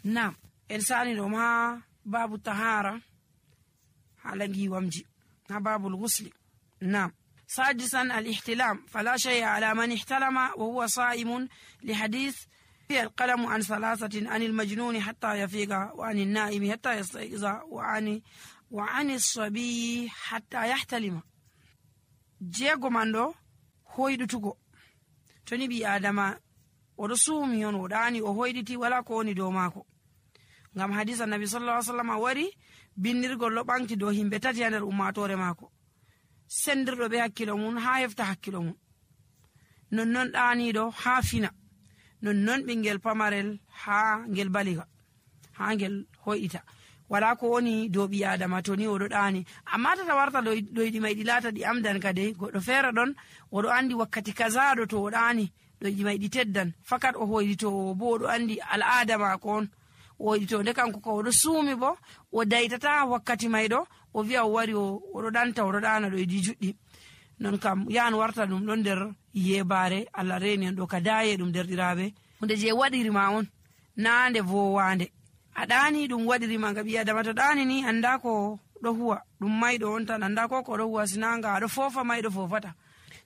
Naam, en sani ɗo ma babu tahara hala giwamji ha babul ghusli. Naam. سادسا الاحتلام فلا شيء على من احتلم وهو صائم لحديث في القلم عن 3 عن المجنون حتى يفيق وعن النائم حتى يستيقظ وعن الصبي حتى يحتلم. جيغو ماندو hoyɗutugo to ni ɓi adama oɗo suumi on oɗani o hoyɗiti wala ko woni dow maako, ngam hadisa nabi sallallahu alaihi wasallam wari bindirgol ɗo ɓanti dow himɓe 3 ha nder ummatore maako, sendirɗo be hakkilo mum ha hefta hakkilo mum, nonnon ɗaniɗo ha fina, nonnon ɓingel pamarel ha ngel baliga, ha ngel hoyɗita. wala ko woni dow ɓi adama to ni oɗo ɗani. Amma tata warta ɗoyɗi may ɗi laata ɗi amdan kade, goɗɗo feere ɗon oɗo andi wakkati kazaɗo to o ɗani ɗoyɗi may ɗi teddan, fakat o hoyɗito bo oɗo andi al'ada maako on o hoyɗito. Nde kanko ko oɗo suumi bo o daytata wakkati may ɗo o wi'a o wari oɗo ɗanta oɗo ɗana ɗoyɗi juɗɗi. Non kam yan warta ɗum ɗon nder yebare Allah reni en ɗo ka daye ɗum derɗiraɓe, hunde je waɗirima on na nde vowande. a ɗani ɗum waɗirima nga ɓi adama to ɗani ni anda ko ɗo huwa, ɗum mayɗo on tan anda ko ɗo huwa, sinanga aɗo fofa mayɗo fofata.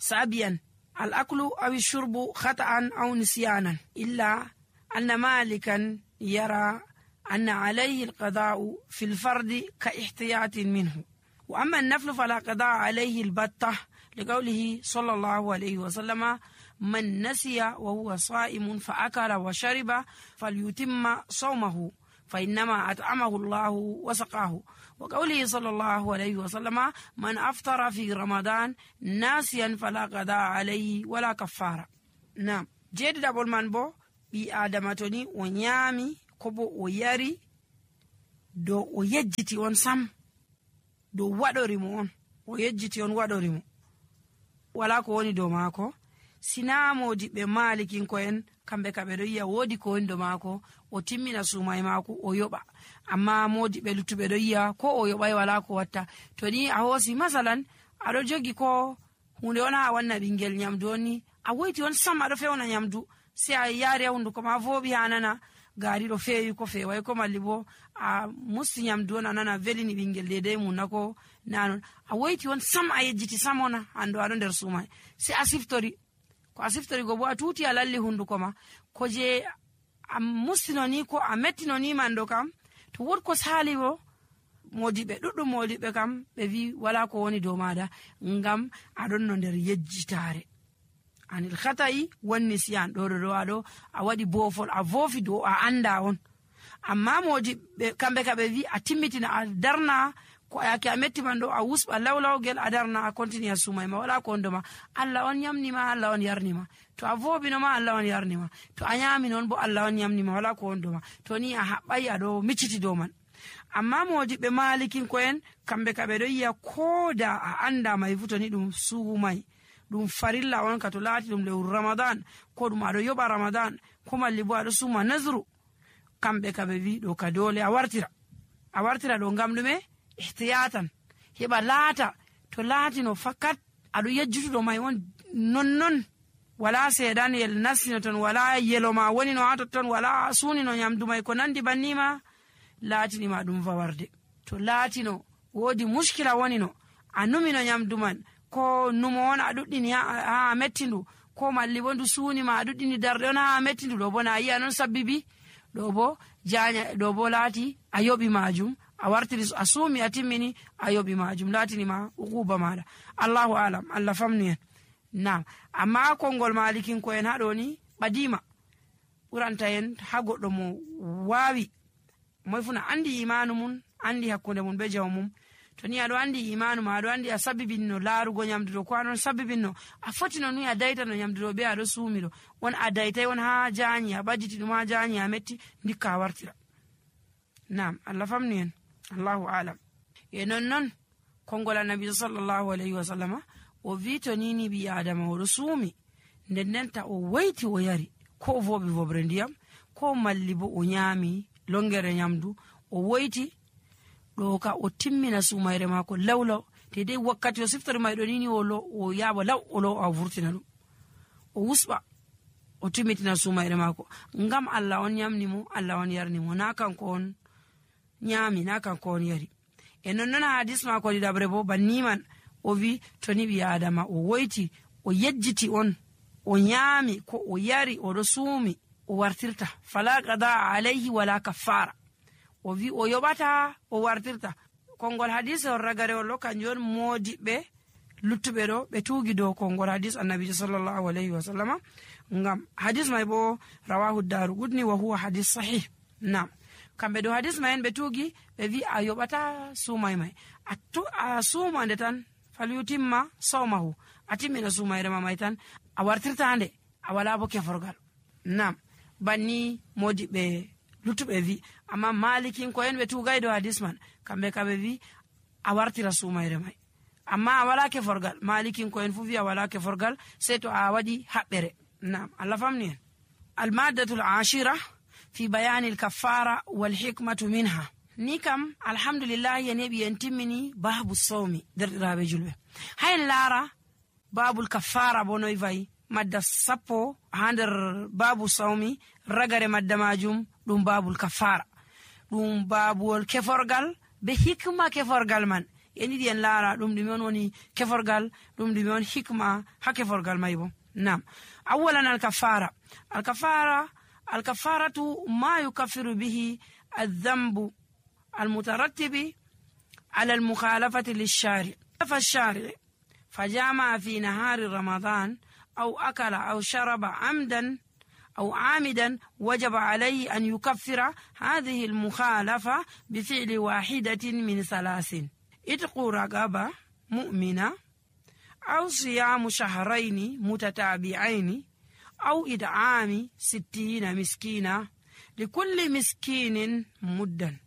sabiyan al aklu aw shurbu khata'an aw nisyanan illa anna malikan yara anna alayhi al qada'u fi al fardi ka ihtiyatin minhu wa amma an naflu fala qada'a alayhi al batta liqawlihi sallallahu alayhi wa sallama man nasiya wa huwa sa'imun fa akala wa shariba falyutimma sawmahu فإنما أطعمه الله وسقاه وقوله صلى الله عليه وسلم من أفطر في رمضان ناسيا فلا قضاء عليه ولا كفارة. نعم جيد دابول من بو بي آدماتوني ونيامي كوبو وياري دو ويجتي on sam do waɗorimo on o yejjiti on waɗorimo wala ko woni dow maako, sina modiɓɓe malikinko'en kamɓe ka ɓe ɗo yiya woodi ko woni dow maako o timmina suumay maako o yoɓa. Amma modiɓɓe luttuɓe ɗo yiya ko o yoɓay wala ko watta. To ni a hoosi masalan aɗo jogi ko hunde on ha wanna ɓingel nyamdu on ni a woyti on sam aɗo fewna nyamdu sai a yaari ha hunduko ma vooɓi ha nana gaari ɗo feewi ko feeway ko malli bo a musti nyamdu on a nana velini ɓingel dedei mum na ko nanon, a woyti on sam a yejjiti sam ona ando aɗo nder suumay sai a siftori ko a siftori go bo a tuuti a lalli hunduko ma ko je a mustino ni ko a mettino ni mando kam to wod ko sali bo modiɓe ɗuɗɗum modiɓe kam ɓe wi wala ko woni dow maɗa ngam aɗon no nder yejjitare anil khata'i wan nisyan ɗo aɗo a waɗi boofol a voofi dow a anda on. Amma modiɓe kamɓe ka ɓe wi a timmitina a darna ko ayake a metti man ɗo a wusɓa lawlawgel a darna a continue a sumay ma wala ko ondoma. Allah on yamnima, Allah on yarnima. To a voobinoma Allah on yarnima, to a nyami non bo Allah on yamnima wala ko ondoma. To ni a haɓɓay aɗo micciti dow man. Amma modiɓɓe malikinko'en kamɓe ka ɓe ɗo yiya ko da a anda may futoni ɗum suumay ɗum farilla on ka to laati ɗum lewru ramadan ko ɗum aɗo yoɓa ramadan ko malli bo aɗo suma nazru, kamɓe ka ɓe wi ɗo ka dole a wartira ɗo ngam ɗume ihtiyatan heɓa laata to laatino fakat aɗo yejjutuɗo may on nonnon wala seeɗanyel nastino ton, wala yelo ma woni no ha totton, wala suunino nyamdu may ko nandi bannima, laatinima ɗum fawarde. To laatino woodi muskila woni no a numino nyamdu man ko numo on a ɗuɗɗini ha mettindu ko malli bo ndu suunima a ɗuɗɗini darɗe on ha mettindu, ɗo bo na yi'a non sabbibi ɗo bo janya, ɗo bo laati a yoɓi majum a wartiri a suumi a timmini a yoɓi majum laatinima uquba maɗa. Allahu alam, Allah famni en. Nam amma konngol malikinko'en haɗo ni ɓadima ɓuranta en ha goɗɗo mo wawi moy funa andi imanu mum, andi hakkunde mum be jaw mum. To ni aɗo andi imanu ma, aɗo andi a sabbibinno laarugo nyamdu ɗo ko aɗon sabbibinno a fotino ni a daytano nyamdu ɗo be aɗo suumi ɗo on a daytay on ha jaanyi a ɓadditi ɗum ha jaanyi a metti ndikka a wartira. Nam Allah famni en. Allahu alam. E non konngol annabi sallallahu alayhi wa sallama o wi to nini ɓi adama oɗo suumi ndendenta o wayti o yari ko o vooɓi vobre ndiyam ko malli bo o nyaami longere nyamdu o woyti ɗo ka o timmina sumayre mako lawlaw te dai wakkati o siftori mayɗo nini o yaɓa law o law a vurtina ɗum o wusɓa o timitina sumayre mako ngam Allah on nyamni mo, Allah on yarni mo, na kanko on nyami, na kanko on yari. E non hadis mako ɗiɗabre bo banni man o wi to ni ɓi adama o woyti o yejjiti on o nyami ko o yari o ɗo suumi o wartirta fala qada alayhi wala kaffara. O wi o yoɓata o wartirta. Kongol hadis on ragarewol ɗo kanjum on modiɓɓe luttuɓe ɗo ɓe tuugi dow kongol hadis annabijo sallallahu alayhi wa sallama. Ngam hadis mai bo rawahu Daraqutni wa huwa hadis sahih. Nam kamɓe dow hadis mai en ɓe tuugi ɓe wi a yoɓata suumay mai a suumande tan falyutimma sawmahu, a timmina suumayre ma mai tan a wartirtande a wala bo keforgal. Nam banni modiɓɓe luttuɓe wi. Amma malikin ko en ɓe tuugay dow hadis man kamɓe wi a wartira suumayre mai amma a wala keforgal. malikin ko en fu wi a wala keforgal sai to a waɗi haɓɓere. Nam Allah famni en. Almaddatul ashira fi bayani al-kaffara wal hikmatu minha. Ni kam alhamdulillah en heɓi en timmini babu sawmi derɗiraɓe julɓe. Hayen laara babul kaffara bo noy vayi. Madda sappo ha nder babu sawmi ragare madda majum ɗum babul kaffara, ɗum babuwol keforgal be hikma keforgal man. En yiɗi en laara ɗum ɗume on woni keforgal, ɗum ɗume on hikma ha keforgal mai bo. Nam awalan alkafaratu ma yukaffiru bihi aldhambu almutarattibi ala almukhalafati lilshari fashari fajama fi nahari ramadan أو أكل أو شرب عمدا أو عامدا وجب عليه أن يكفر هذه المخالفة بفعل واحدة من ثلاث: إتق رقبة مؤمنة، أو صيام شهرين متتابعين، أو إطعام 60 مسكينا لكل مسكين مدا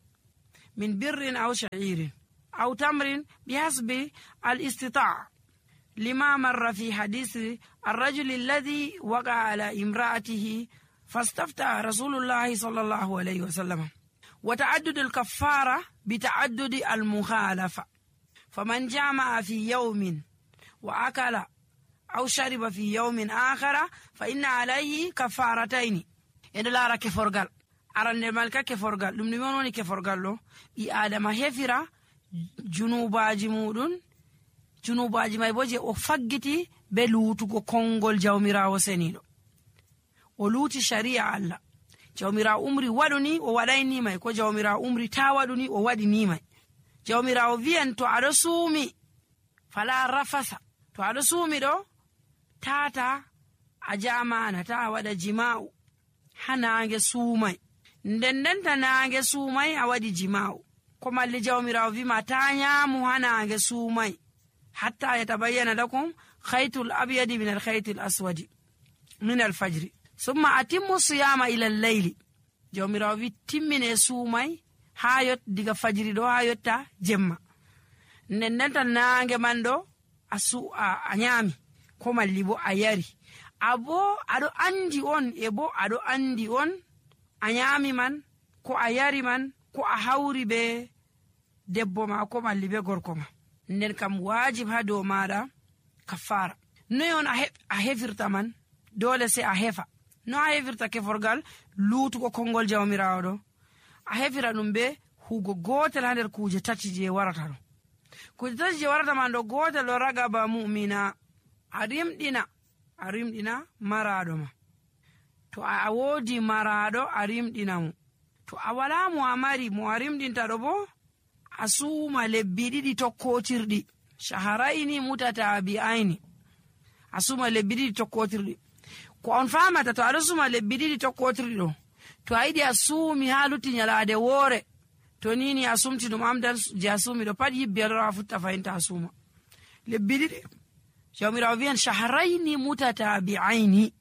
من بر أو شعير أو تمر بحسب الاستطاعة، لما مر في حديث الرجل الذي وقع على امرأته فاستفتى رسول الله صلى الله عليه وسلم. وتعدد الكفارة بتعدد المخالفة، فمن جامع في يوم وأكل أو شرب في يوم آخر فإن عليه كفارتين. إن لا رك فرقال أرن الملك كفرقال لم نموني كفرقال له آدم هفرا جنوباجي مودون junubaji mai bo je o faggiti be luutugo kongol jawmirawo senido. O luuti sharia Allah. Jawmirawo umri waduni o wadayni mai, ko jawmirawo umri ta waduni o wadi ni mai. Jawmirawo viyan to ado suumi fala rafasa, to ado suumi do tata a jamana ta wada jima'u hanange suumai, ndendenta nange suumai a wadi jima'u. Ko malli jawmirawo vima ta nyamu hanange suumai حتى يتبين لكم خيط الأبيض من الخيط الأسود من الفجر ثم أتموا الصيام إلى الليل. jawmirawo wi timmine suumay ha yot diga fajiri ɗo ha yotta jemma. Ndendenta nange man ɗo a nyami ko malli bo a yari, abo aɗo andi on e bo aɗo andi on a nyami man ko a yari man ko a hawri be debbo ma ko malli be gorko ma. Nden kam wajib ha dow maɗa kafara. Noy on a hefirta man? Dole sai a hefa. No a hefirta keforgal luutugo kongol jawmirawo ɗo? A hefira ɗum be hugo gotel ha nder kuje tati je warata ɗo. Kuje tati je warata man ɗo, gotel ɗo ragaba mu'mina, a rimɗina maraɗo ma. To a wodi maraɗo a rimɗina mo. To a wala mo a mari mo a rimɗinta ɗo bo a suuma lebbi ɗiɗi tokkotirɗi, shaharaini mutatabi'aini, a suuma lebbi ɗiɗi tokkotirɗi. Ko on famata to aɗo suuma lebbi ɗiɗi tokkotirɗi ɗo, to a yiɗi a suumi ha lutti nyalade woore, to nini a sumti ɗum amdal je a suumi ɗo pat yibbi aɗo a futta fayinta a suuma lebbi ɗiɗi. jawmirawo wiyan shaharaini mutatabi'aini,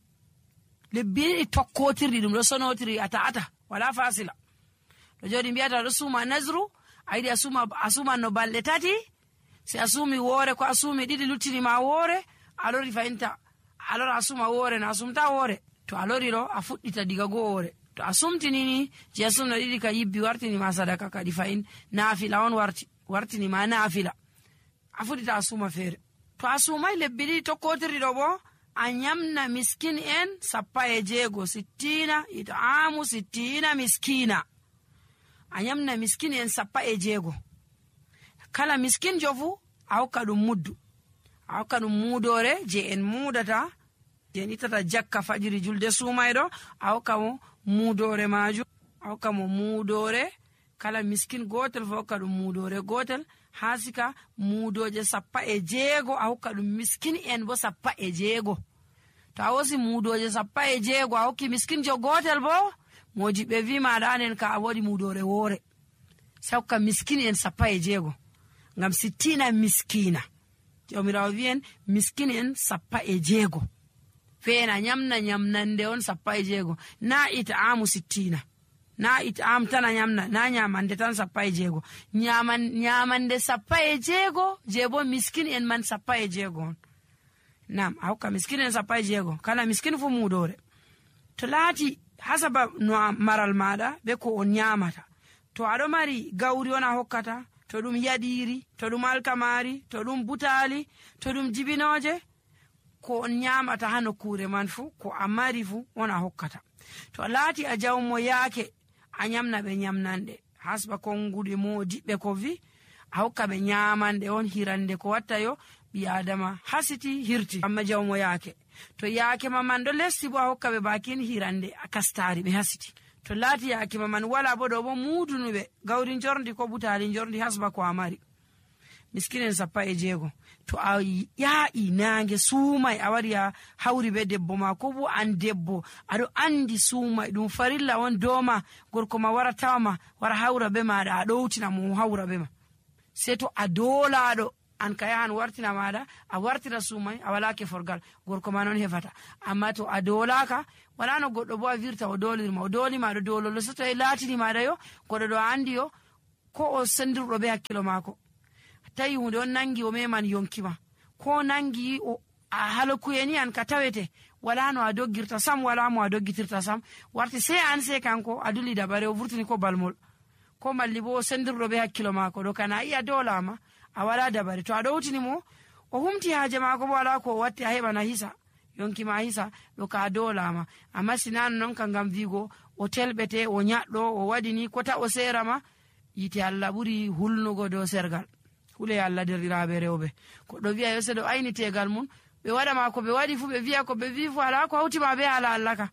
lebbi ɗiɗi tokkotirɗi ɗum ɗo sonotiri a ta'ata wala fasila. to jodi mbiyata ɗo suuma nazru, a yiɗi a suman no balɗe tati, si a suumi woore ko a suumi ɗiɗi luttinima woore, a lori fayinta a lora a suma woore no a sumta woore. To a lori ɗo a fuɗɗita diga go woore, to a sumtinini je a sumno ɗiɗi ka yibbi wartinima sadaka kadi fayin naafila on wartinima naafila, a fuɗɗita a suma feere. To a sumai lebbi ɗiɗi tokkotirɗi ɗo bo a nyamna miskin en 16 sittina it'amu sittina miskina. A nyamna miskin en 16 kala miskin jofu a hokka ɗum muddu, a hokka ɗum muudore je en muudata je en ittata jakka fajiri julde sumayɗo, a hokka mo muudore majum, a hokka mo muudore kala miskin gotel fo hokka ɗum muudore gotel ha sika muudoje 16 a hokka ɗum miskin en bo 16. To a wosi muudoje 16 a hokki miskin jo gotel bo mojiɓe wi maɗa anen ka a waɗi muudore woore, sai hokka miskin en 16 ngam 60 miskina. Jomirawo wi'en miskin en 16 feena nyamna nyamnande on 16 na it'amu 60, na it'am tan a nyamna, na nyamande tan 16, nyamande 16 je bo miskin en man 16 on. Nam a hokka miskin en 16 kala miskin fu muudore. To laati hasaba no maral maɗa be ko on nyamata, to aɗo mari gawri on a hokkata, to ɗum yaɗiri, to ɗum alkamari, to ɗum butali, to ɗum jibinoje, ko on nyamata ha nokkure man fu ko a mari fu on a hokkata. To laati a jawmo yaake a nyamna ɓe nyamnande hasba konguɗe modiɓɓe ko vi a hokka ɓe nyamande on hirande ko watta yo ɓi adama hasiti hirti. Amma jawmo yaake to yaake maman ɗo lesti bo a hokka ɓe bakin hirande a kastari ɓe hasiti. To laati yaake maman wala bo ɗo bo muudunuɓe gawri jorndi ko butali jorndi hasba ko a mari, miskinen 16. To a yaa'i nange suumay a wari a hawri be debbo ma ko bo an debbo aɗo andi suumay ɗum farilla on doma gorko ma wara tawama wara hawra be maɗa a ɗowtina mo hawra be ma, sei to a dolaɗo an ka yahan wartina maɗa a wartira suumay a wala keforgal gorko ma non hefata. Amma to a dolaka wala no goɗɗo bo a virta o dolirma o dolima ɗo dololo, so to e laatini maɗa yo goɗɗo ɗo andi yo ko o sendirɗo be hakkilo mako tawi hunde on nangi o meman yonkima ko nangi o a halokuyeni an ka tawete wala no a doggirta sam, wala mo a doggitirta sam, warti sei an sei kanko a dulli dabare o vurtini ko balmol ko malli bo o sendirɗo be hakkilo mako ɗo kana iya dolama a wala dabare. To a ɗowtini mo o humti haaje mako bo wala ko o watti a heɓana hisa yonkima hisa ɗo ka dolama. Amma sinano non ka ngam vigo o telɓete o nyaɗɗo o waɗini kota o serama, yite Allah ɓuri hulnugo dow sergal. Hule Allah derɗiraɓe rewɓe koɗo wiya yo seɗo ayni tegal mum ɓe waɗama ko ɓe waɗi fu ɓe wiya ko ɓe wi fu ala ko hawtima be ala Allah ka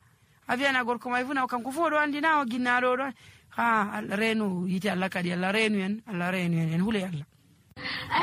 a wiyana gorko may fu na kanko fu oɗo andi na o ginnaɗo ɗo ha Allah renu yite Allah kadi Allah renu en, Allah renu en hule Allah.